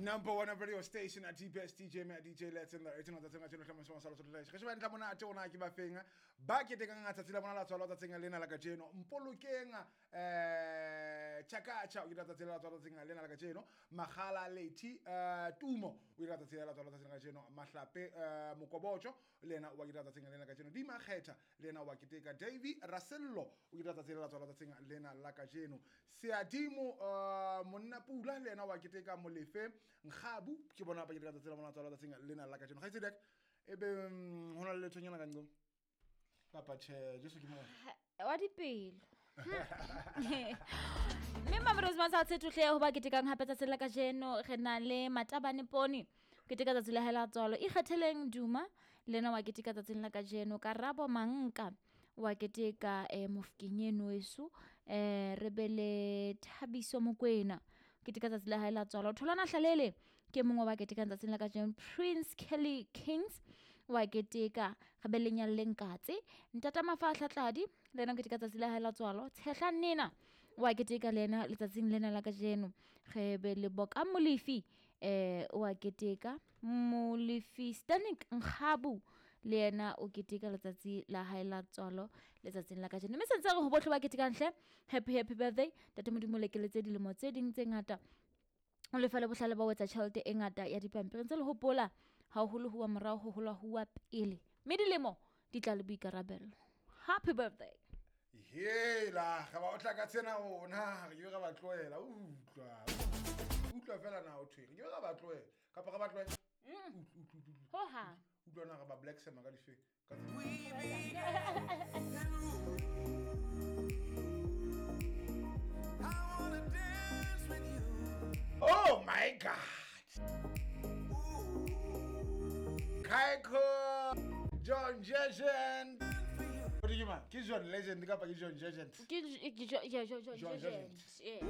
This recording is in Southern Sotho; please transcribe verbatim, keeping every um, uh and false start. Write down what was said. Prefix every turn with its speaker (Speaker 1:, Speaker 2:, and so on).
Speaker 1: Number one radio station at D B S D J me D J Let's in the eighteen tsatsing a tjeno hlama sa Lesotho Live. Re sheba ntlha mona ate ona ke ba feng ba ketekang tsatsi la bona la tswalo tsatsing lena la kajeno. Mpolokeng eh Chakacha o ile tsatsi la tswalo tsatsing lena la kajeno. Magala Leti eh Tumo o ile tsatsi la tswalo tsatsing la kajeno. Mahlape eh Mokobocho le yena wa keteka tsatsing lena la kajeno. Di Makgetha le yena wa keteka. Davy Rasello o ile tsatsi la tswalo tsatsing lena la kajeno. Seadimo eh Monna Pula le yena wa keteka. Molefe Nkgabu ke bona ba keteka tsatsi la bona tswalo tsatsing lena la kajeno. Kgaitsedi e be hona le lethonyana ka nqo kapa tjhe Jesu ke mo
Speaker 2: wa dipelo. Mme Mamelodi sa tshethohle ho ba ketekang hape tsatsi la kajeno re na le Matabane Poni keteka tsatsi la hae la tswalo. Ikgetheleng Duma le yena wa keteka tsatsing la kajeno. Karabo Manka wa keteka eh Mofokeng eno weso, eh re be le Thabiso Mokwena keteka tsatsi la hae la tswalo. Tholwana Hlalele ke mongwe wa ketekang tsatsing la kajeno. Prince Kelly Kings wa keteka. Re be le Nyalleng Katse. Ntata Mafahla Tladi le yena o keteka tsatsi la hae la tswalo. Tshehla Nena wa keteka le yena letsatsing lena la kajeno. Re be le Boka Molefi eh wa keteka. Molefi Stanik Nkgabu le yena o keteka letsatsi la hae la tswalo letsatsing la kajeno. Mme sentse re ho bohle ba ketekang hle, happy happy birthday. Ntate Modimo lekeletse dilemo tse ding tse ngata. O lefa le bohlale ba ho etsa tjhelete e ngata ya dipampiri. Ntse le hopola haholo huwa morao ho hola huwa pele. Mme dilemo di tla le boikarabelo. Happy birthday.
Speaker 1: Hela, ga ba o tla ka tsena ona, re ke ga ba tlohela, utlwa. Utlwa fela na o thwe. Re ke ga ba tlohela. Kapa ga ba tlohela.
Speaker 2: Ho ha.
Speaker 1: Utlwa na ga ba black sema ka dife. Ka Oh my God. Kaiko John Legend. What do you mean? Ki John Legend kapa ki John Legend?
Speaker 2: Ki John Legend. Yeah.